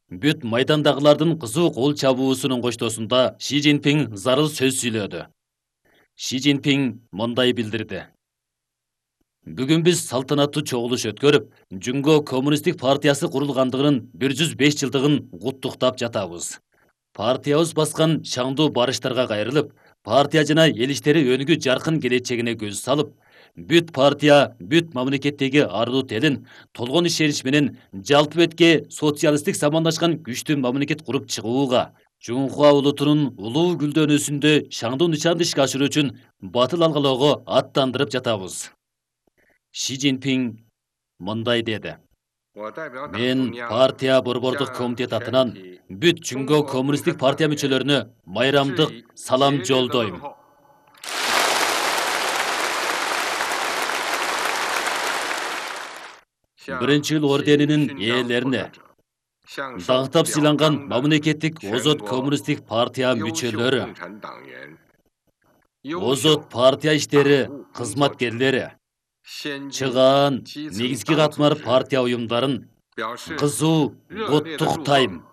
Бүт майдандагылардын кызуу кол чабуусунун коштоосунда Ши Цзиньпин зарыл сөз сүйлөдү. Ши Цзиньпин мындай билдирди. Бүгүн биз салтанаттуу чогулуш өткөрүп, Жунго Коммунисттик партиясы курулгандыгынын 105 жылдыгын куттуктап жатабыз. Партиябыз баскан шаңдуу барыштарга кайрылып, партия жана эл иштери өнүгүү жаркын келечегине көз салып, бүт партия, бүт мамлекеттеги ардуу телин толгон ишенич менен жалпы бетке социалисттик самандашкан күчтүү мамлекет куруп чыгууга, Жунхуа улутунун улуу гүлдөнүүсүндө шаңдуу нышанды ишке ашыруу үчүн батыл алгалоого аттандырып жатабыз. Ши Цзиньпин мындай деди. Мен партия борбордук комитет атынан бүт Жунго Коммунисттик партия мүчөлөрүнө майрамдык салам жолдойм. Биринчи ыл орденинин ээлерине, даңктап сыйланган мамлекеттик озот коммунисттик партия мүчөлөрү, озот партия иштери кызматкерлери, чыгаан негизги катмар партия уюмдарын кызуу куттуктайм.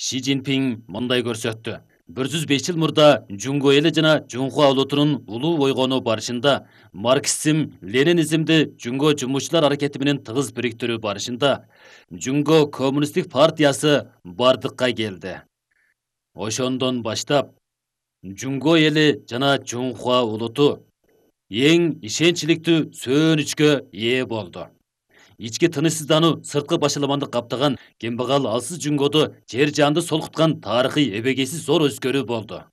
Ши Цзиньпин мындай көрсөттү. 105 жыл мурда Жунго эли жана Жунхуа улутунун улуу бойгонуу барышында марксизм, ленинизмди Жунго жумушчулар аракети менен тыгыз бириктирүү барышында Жунго Коммунисттик партиясы бардыкка келди. Ошондон баштап Жунго эли жана Жунхуа улуту эң ишенчиликтүү сөөнүчкө ээ болду. Ички тынычсыздануу, сырткы башаламандык каптаган кембагал алсыз Жунгодо жер жанды солкуткан тарыхый эбегейсиз зор өзгөрүү болду.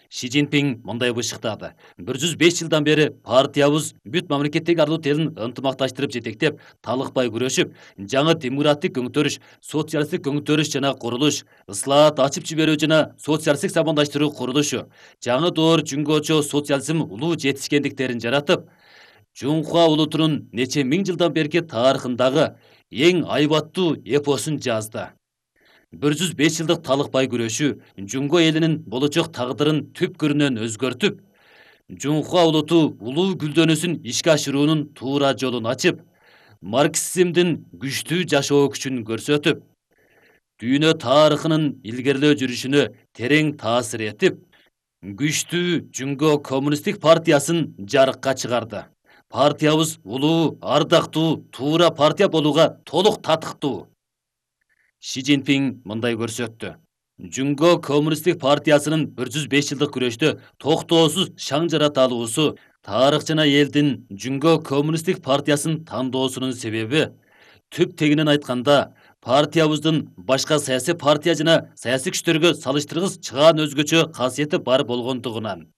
Ши Цзиньпин мындай бышыктады. 105 жылдан бери партиябыз бүт мамлекеттеги ардуу телин ынтымакташтырып жетектеп, талыкпай күрөшүп, жаңы демократик көңтөрүш, социалисттик көңтөрүш жана курулуш, ыслаат ачып жиберүү жана социалисттик самандаштыруу курулушу, жаңы доор Жунгочо социализм улуу жетишкендиктерин жаратып, Жунхуа улутунун нече миң жылдан берки тарыхындагы эң айбаттуу эпосун жазды. 105 жылдык талыкпай күрөшүү Жунго элинин болочок тагдырын түпкүрүнөн өзгөртүп, Жунхуа улуту улуу гүлдөнүүсүн ишке ашыруунун туура жолун ачып, марксизмдин күчтүү жашоо күчүн көрсөтүп, дүйнө тарыхынын илгерлөө жүрүшүнө терең таасир этип, күчтүү Жунго Коммунисттик партиясын жарыкка чыгарды. Партиябыз улуу, ардактуу, туура партия болууга толук татыктуу. Ши Цзиньпин мындай көрсөттү. Жунго Коммунисттик партиясынын 105 жылдык күрөштө токтоосуз шаң жарата алуусу тарых жана элдин Жунго Коммунисттик партиясын тандоосунун себеби, түп тегинен айтканда, партиябыздын башка саясий партия жана саясий күчтөргө салыштыргыс чыгаан өзгөчө касиети бар болгондугунан.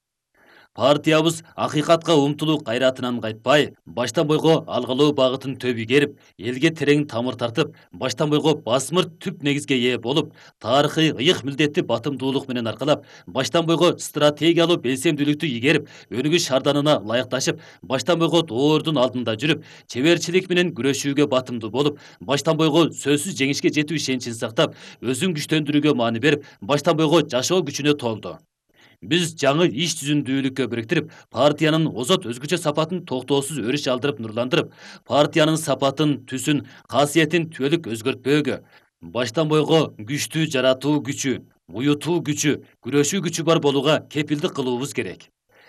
Партиябыз акыйкатка умтулуу кайратынан кайтпай, баштан бойго алгалоо багытын төп игерип, элге терең тамыр тартып, баштан бойго басмыр түп негизге ээ болуп, тарыхый ыйык милдетти батымдуулук менен аркалап, баштан бойго стратегиялуу белсемдүүлүктү игерип, өнүгүү шарданына ылайыкташып, баштан бойго доордун алдында жүрүп, чеберчилик менен күрөшүүгө батымдуу болуп, баштан бойго сөзсүз жеңишке жетүү ишеничин сактап, өзүн күчтөндүрүүгө маани берип, баштан бойго жашоо күчүнө толду. Биз жаңы иш түзүндүүлүккө бириктирип, партиянын озот өзгөчө сапатын токтоосуз өрүш алдырып, нурландырып, партиянын сапатын, түсүн, касиетин түбөлүк өзгөртпөөгө, баштан бойго күчтүү жаратуу күчү, уютуу күчү, күрөшүү күчү бар болууга кепилдик кылуубуз керек.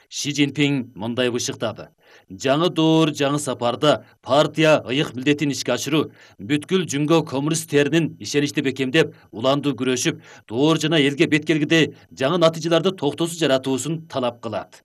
Ши Цзиньпин мындай бышыктады. Жаңы доор, жаңы сапарда партия ыйык милдетин ишке ашыруу, бүткүл Жунго коммунисттеринин ишеничти бекемдеп, уландуу күрөшүп, доор жана элге бет келгидей жаңы натыйжаларды токтоосуз жаратуусун талап кылат.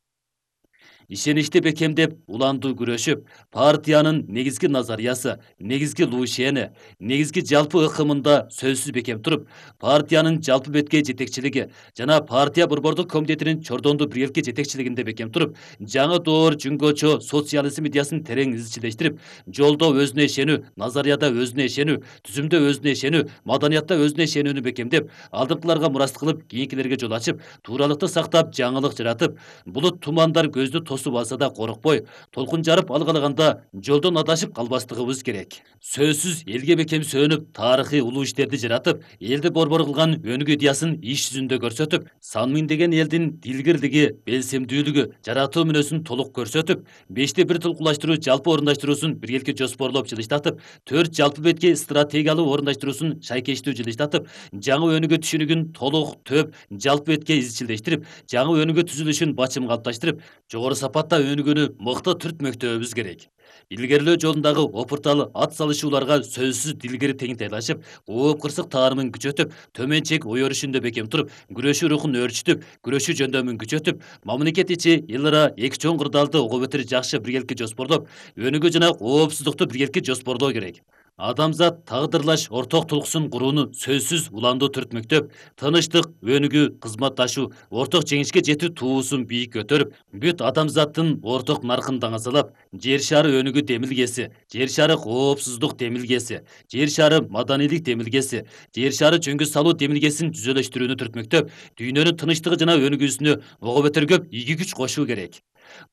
Ишеничти бекемдеп, уландуу күрөшүп, партиянын негизги назариясы, негизги лушени, негизги жалпы ыкымында сөзсүз бекем туруп, партиянын жалпы бетке жетекчилиги жана партия борбордук комитетинин чордондуу биргеликке жетекчилигинде бекем туруп, жаңы доор Жунгочо социализм идеясын терең изчилештирип, жолдо өзүнө ишенүү, назарияда өзүнө ишенүү, түзүмдө өзүнө ишенүү, маданиятта өзүнө ишенүүнү бекемдеп, алдыңкыларга мурас кылып, кийинкилерге жол ачып, тууралыкты сактап, жаңылык жаратып, булут тумандар көздү суусу басса да коркпой, толкун жарып алгалаганда жолдон адашып калбастыгыбыз керек. Сөзсүз элге бекем сөөнүп, тарыхый улуу иштерди жаратып, элди борбор кылган өнүгүү идеясын иш жүзүндө көрсөтүп, сан миңдеген элдин дилгирлиги, белсемдүүлүгү, жаратуу мүнөзүн толук көрсөтүп, 5-1 толкунлаштыруу жалпы орундаштыруусун биргеликке жоспорлоп жылыштатып, 4 жалпы бетке стратегиялуу орундаштыруусун шайкештүү жылыштатып, жаңы өнүгүү түшүнүгүн толук, төп, жалпы бетке изчилдештирип, жаңы өнүгүү түзүлүшүн бачым калыпташтырып, жогору сапатта өнүгүүнү мыкты түртмөктөөбүз керек. Илгерилөө жолундагы опуртал ат салышууларга сөзсүз дилгири теңтайлашып, ооп кырсык таарымын күчөтүп, төмөнчек ой өрүшүндө бекем туруп, күрөшүү рухун өөрчүтүп, күрөшүү жөндөмүн күчөтүп, мамлекет ичи эл ара эки чоң кырдаалды ого бетер жакшы биргеликке жоспорлоп, өнүгүү жана коопсуздукту биргеликке жоспорлоо керек. Адамзат тагдырлаш орток тулкуусун курууну сөзсүз уламдуу түртмөктөп, тынычтык, өнүгүү, кызматташуу, орток жеңишке жетүү туусун бийик көтөрүп, бүт адамзаттын орток наркын даңазалап, жер шары өнүгүү демилгеси, жер шары коопсуздук демилгеси, жер шары маданийлик демилгеси, жер шары жөнгө салуу демилгесин түзөлөштүрүүнү түртмөктөп, дүйнөнүн тынычтыгы жана өнүгүүсүнө ого бетер көп ийги күч кошуу керек.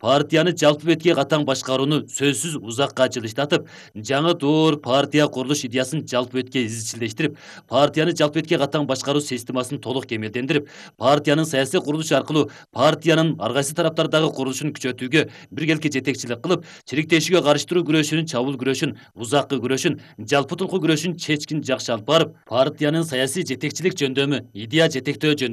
Партияны жалпы бетке катаң башкарууну сөзсүз узакка жылыштатып, жаңы доор партия курулуш идеясын жалпы бетке изчилдештирип, партияны жалпы бетке катаң башкаруу системасын толук кемелдендирип, партиянын саясий курулушу аркылуу партиянын ар кайсы тараптардагы курулушун күчөтүүгө биргеликке жетекчилик кылып, чириктешүүгө каршы туруу күрөшүнүн, чабуул күрөшүн, узаккы күрөшүн, жалпы тулку күрөшүн чечкин жакшы алып барып, партиянын саясий жетекчилик жөндөмү, идея жетектөө жөндөмү